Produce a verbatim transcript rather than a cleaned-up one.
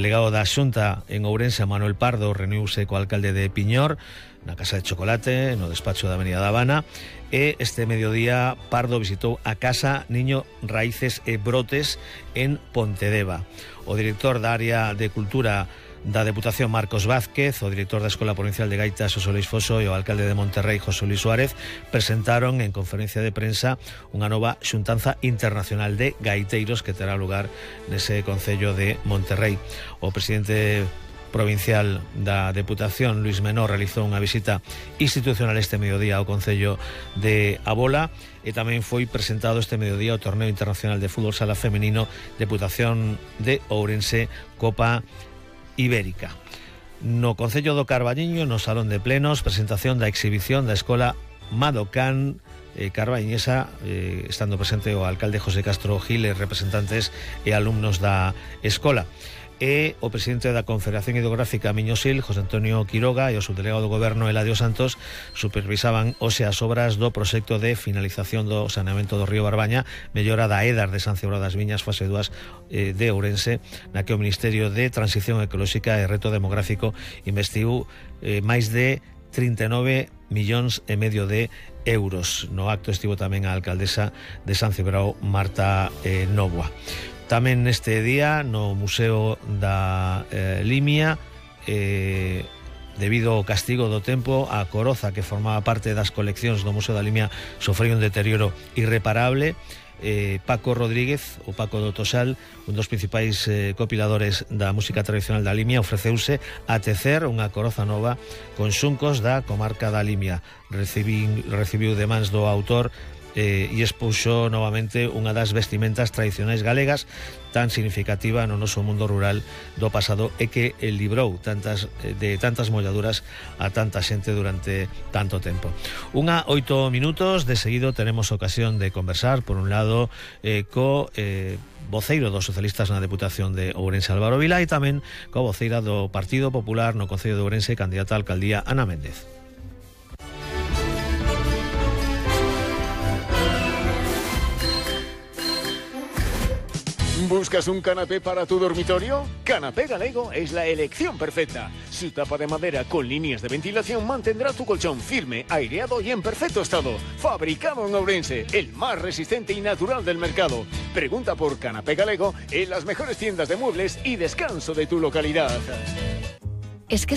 Delegado da Xunta en Ourense, Manuel Pardo, reuniuse co alcalde de Piñor na Casa de Chocolate, no despacho da Avenida da Habana, e este mediodía Pardo visitou a Casa Niño Raíces e Brotes en Pontedeva. O director da área de Cultura da Deputación, Marcos Vázquez, o director da Escola Provincial de Gaitas, José Luis Foso, e o alcalde de Monterrey, José Luis Suárez, presentaron en conferencia de prensa unha nova xuntanza internacional de gaiteiros que terá lugar nese concello de Monterrey. O presidente provincial da Deputación, Luis Menor, realizou unha visita institucional este mediodía ao concello de Abola, e tamén foi presentado este mediodía o Torneo Internacional de Fútbol Sala Femenino Deputación de Ourense Copa Ibérica. No Concello do Carballiño, no Salón de Plenos, presentación da exhibición da Escola Madocán eh, Carballiñesa, eh, estando presente o alcalde José Castro Gil e representantes e alumnos da escola. E o presidente da Confederación Hidrográfica Miñosil, José Antonio Quiroga, e o subdelegado do Goberno, Eladio Santos, supervisaban hoxe as obras do proxecto de finalización do saneamento do río Barbaña, mellora da Edar de San Cebró das Viñas, fase dúas eh, de Ourense, na que o Ministerio de Transición Ecolóxica e Reto Demográfico investiu eh, máis de trinta e nove millóns e medio de euros. No acto estivo tamén a alcaldesa de San Cebró, Marta eh, Novoa. Tamén neste día no Museo da eh, Limia, eh, debido ao castigo do tempo, a coroza que formaba parte das coleccións do Museo da Limia sofreu un deterioro irreparable. eh, Paco Rodríguez, o Paco do Tosal, un dos principais eh, copiladores da música tradicional da Limia, ofreceuse a tecer unha coroza nova con xuncos da comarca da Limia. Recibí, recibiu de mans do autor Eh, e expuxo novamente unha das vestimentas tradicionais galegas tan significativa no noso mundo rural do pasado e que librou tantas, de tantas molladuras a tanta xente durante tanto tempo. Unha oito minutos, de seguido tenemos ocasión de conversar, por un lado, eh, co eh, voceiro dos socialistas na Deputación de Ourense, Álvaro Vilá, e tamén co voceira do Partido Popular no Concello de Ourense, candidata a alcaldía, Ana Méndez. ¿Buscas un canapé para tu dormitorio? Canapé Galego es la elección perfecta. Su tapa de madera con líneas de ventilación mantendrá tu colchón firme, aireado y en perfecto estado. Fabricado en Ourense, el más resistente y natural del mercado. Pregunta por Canapé Galego en las mejores tiendas de muebles y descanso de tu localidad. Es que